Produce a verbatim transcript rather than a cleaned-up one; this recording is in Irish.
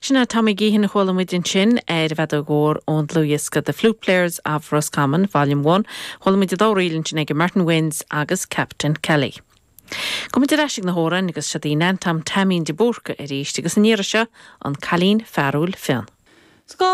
Sin é Tommy Geehan a chuala muid ansin ar an bhfeadóg mhór ón dlúthdhiosca The Flute Players of Roscommon, Volume one, chuala muid an dá ríl ansin ag Martin Wynns agus Captain Kelly. Gabhfaidh muid ar ais ag na hamhráin agus seo í Nan Tom Taimín de Búrca arís agus an iarraidh seo an Cailín Fearúil Fionn. Scá